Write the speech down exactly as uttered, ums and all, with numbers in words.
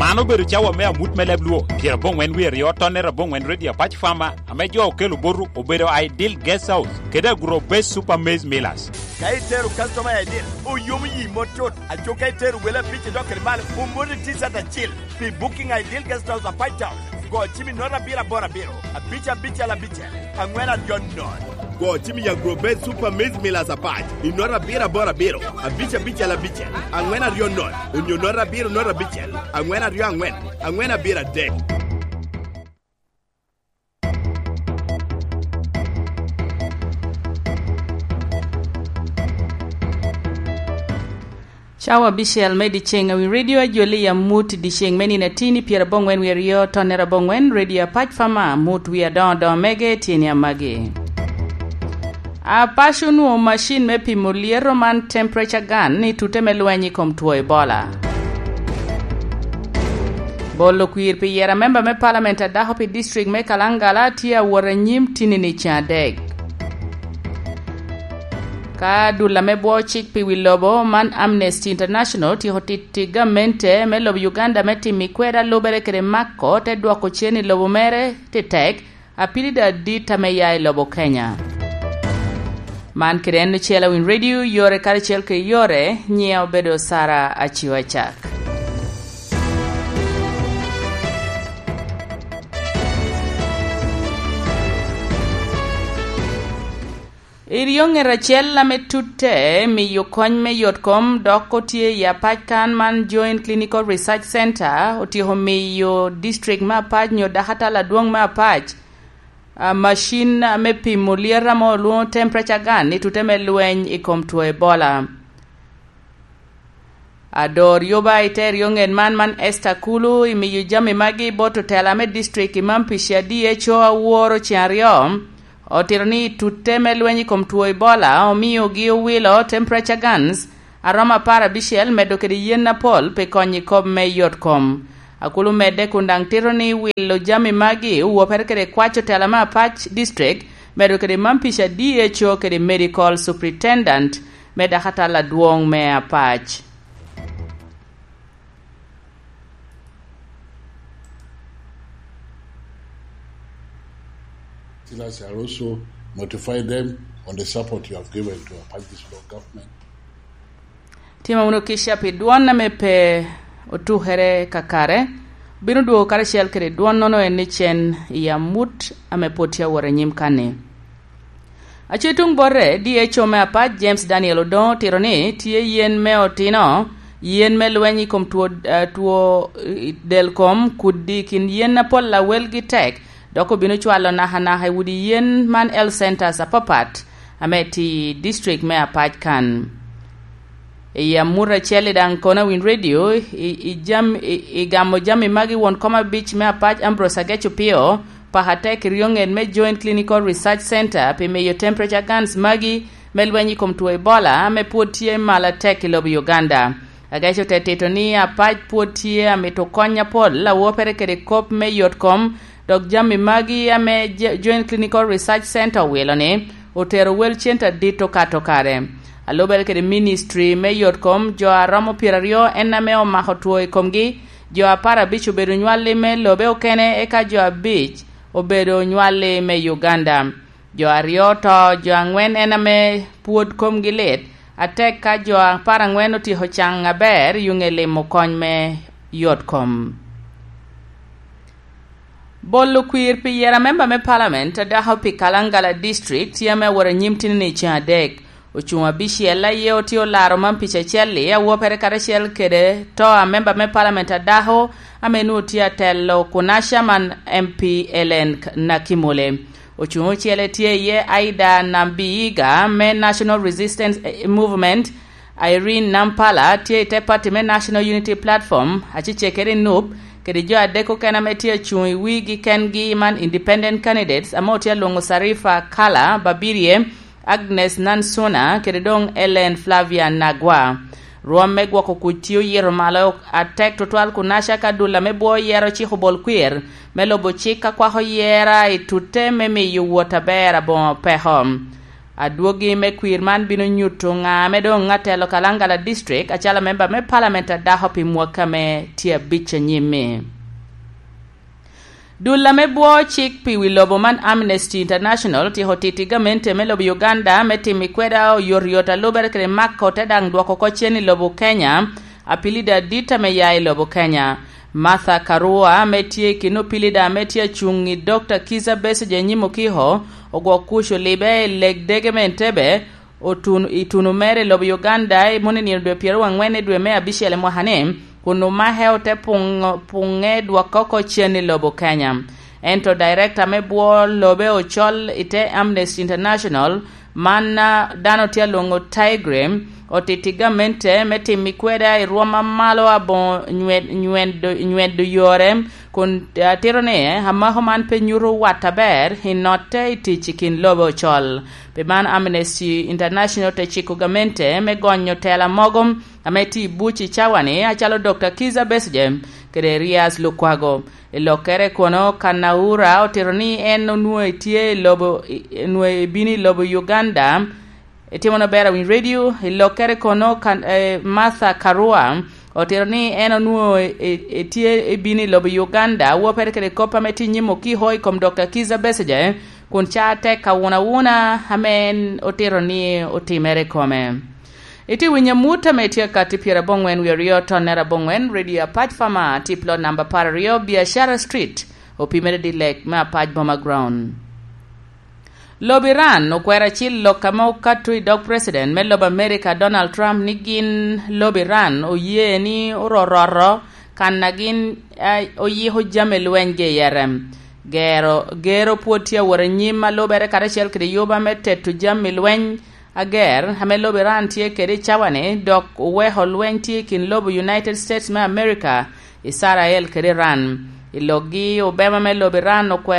An obedo cawa me amut me leb Luo, pyerabongwen wie aryo, tonne abongwen, Radio Apac Farmer, ame jo okelo boto obedo Ideal Guest House kede Agro Base Super Maize Millers. Ka itero customer i Ideal, oyomo yi mot cut. Aco ka itero wele abic idok kede malo, omoti T-shirt acil. Pi booking a Ideal Guest House Apac Town, go cim i nota abiro aboro abiro, abic abicel abicel, angwen aryo nono. Go cim i Agro Base Super Maize Millers Apac i nota abiro aboro abiro, abic abicel abicel, angwen aryo nono, onyo nota abiro nota abicel, angwen aryo angwen, angwen abiro adek. Cawa abicel me dyeceŋ, awi Radio Ajoli i amut i dyeceŋ me nino atin i pyerabongwen wie aryo, tonne abongwen, Radio Apac Farmer, amut wie adoŋo adoŋo mege tye ni amagi. Apac onwoŋo macin me pimo lyeto man temperature gun i tute me lweny i kom two Ebola. Bolo kwir pi yero amemba me palament a dako pi district me Kalangala tye awot anyim tinini ceŋ adek. Ka dul ame bwo cik pi wi lobo man Amnesty International tyeko titi gamente me lobo Uganda me timo i kweda lubere kede mako te dwoko cen i lobo mere titek, apilida adit ame ya i lobo Kenya. Man kede en ocel Awiny Radio, yore karacel kede yore, nyiŋa obedo Sara Aciwa Cak. Iryo ŋet acel ame tutte miyo kony me yot kom dok otye i apac kan man Joint Clinical Research Center otyeko miyo district me apac nyo dakatal adwoŋ me apac, a, macin ame pimo lyet ame olwoŋo temperature gun i tute me lweny i kom two Ebola. Ador yoba i te ryo ŋet man, man Esther Kulu, i miyo jami magi bot otela me district i Mampish a D H O aworo ceŋ aryo, otito ni i tutte me lweny i kom two Ebola omiogi owilo temperature guns a romo apar abicel, medo kede yen apol pi konyo i kop me yot kom. Akulu medde kun daŋ tito ni wilo jami magi owopere kede kwac otela me apac district, medo kede Mampish a D H O kede medical superintendent me dakatal adwoŋ me apac. Still, I shall also notify them on the support you have given to Apac District Government. Timo wunu kica pi dwon ame pe otukere kakare, bino dwogo karacel kede dwonnono en ni cen i amut ame pwod tye awot anyim kanni. Aco i tuŋ bote, D H O me apac James Daniel Odongo otito ni tye yen me otino, yen me lweny i kom two, eh, two, eh, del kom, kudi i kin yen apol a welgi tek, dok obino cwalo nakanaka i udi yen man health centers apapat ame tye i district me apac kan. I amut acel i daŋ kono Awiny Radio, i, i jam-, i, i gamo jami magi won kom abic me apac Ambrose Agec Opio, paka tek i ryo ŋet me Joint Clinical Research Center pi miyo temperature guns magi me lweny i kom two Ebola ame pwod tye malo atek i lobo Uganda. Agec ote tito ni apac pwod tye amito kony apol awopere kede kop me yot kom, dok jami magi ame Je-, Joint Clinical Research Center owilo ni otero wel cente adit okato kare. Alubere kede ministry me yot kom, jo a romo pyeraryo en ame omako two i komgi, jo apar abic obedo nywalli me lobe okene, eka jo abic obedo nywalli me Uganda. Jo aryo oto, jo angwen en ame pwod komgi lit, atek ka jo apar angwen otyeko caŋ aber i ŋe limo kony me yot kom. Bolo kwir pi yero amemba me palament a dako pi Kalangala District tye ame awot anyim tinini ceŋ adek. Ocuŋ abicel aye otye olaro man pica acel-li awopere karacel kede to a memba me palament a dako ame nwoŋo tye atelo Kunaca man M P Ellen Nakimule. Ocuŋ ocele tye iye Aida Nambiyiga me National Resistance Movement, Irene Nampala tye i te pati me National Unity Platform, acecekere i nup, kede jo adek okene ame tye acuŋ i wigi kengi man independent candidates ame otye alwoŋo Sarifa Kala Babirye, Agnes Nansuna, kede doŋ Ellen Flavia Nagwa. Rwom me gwoko kuc tye oyito malo atek tutwal Kunaca ka dul ame bwo yero ciko bol kwir me lubo cik ka kwako yera i tutte me miyo wot aber aboŋo peko. Adwogi me kwir man bino nyuto ŋa ame doŋ atelo Kalangala District acalo memba me Parliament adako pi mwaka me tye abic anyim-mi. Dul ame bwo cik pi wi lobo man, Amnesty International, otyeko titi gamente me lobo Uganda me timo i kweda oyotoyot a lubere kede mako te daŋ dwoko oko cen i lobo Kenya, apilida adit ame ya i lobo Kenya. Martha Karua, ame tye i kin opilida ame tye acuŋ i Dokta Kizza Besigye nyim okiko, ogwok kuc olibe i leg dege me Entebbe, otun-, i tuno mere i lobo Uganda i moni nino dwe pyeraryo angwen i dwe me abicel i mwaka-ni, kun omake ote puŋo-, puŋe dwokke oko cen i lobo Kenya. Ento dairekta me bwo lobe ocol i te Amnesty International, man, a, dano tye alwoŋo Tigray, otiti gamente me timo i kweda i rwom a malo aboŋo nywed-, nyweddo, nyweddo yore, kun, a, tito ni, amako man pe nyuto wat aber i notte i tic i kin lobe ocol. Pi man, Amnesty International te ciko gamente me gonyo tela mogo ame tye i buc i cawa-ni, acalo Dokta Kizza Besigye kede Erias Lukwago. I lokkere kono, Kanaura otito ni en onwoŋo etye i lobo, i-, onwoŋo ebino i lobo Uganda, etimo na ber awiny radio. I lokkere kono, Kan-, eh, Martha Karua otito ni en onwoŋo e-, e-, etye ebino i lobo Uganda, wopere kede kop ame tye i nyim okiko i kom Dokta Kizza Besigye, kun ca tek awunawuna ame en otito ni otimere i kome. Itye winyo amut ame tye akatti pyerabongwen wie aryo tonnere abongwen, Radio Apac Fama, tip lot namba apar aryo, Biashara Street, opimere dilek me Apac Boma Ground. Lobo Iran okwero acil lok ame okato i dog President me lobo America, Donald Trump, ni gin lobo Iran oye ni ororoto kan a gin, a, oyiko jami lweny ge i ere. Gero, gero pwod tye awot anyim a lubere karacel kede yuba me teto jami lweny ager ame lobo Iran tye kede i cawa-ni, dok oweko lweny tye i kin lobo United States me America, Israel kede Iran. I lokgi, obema me lobo Iran okwero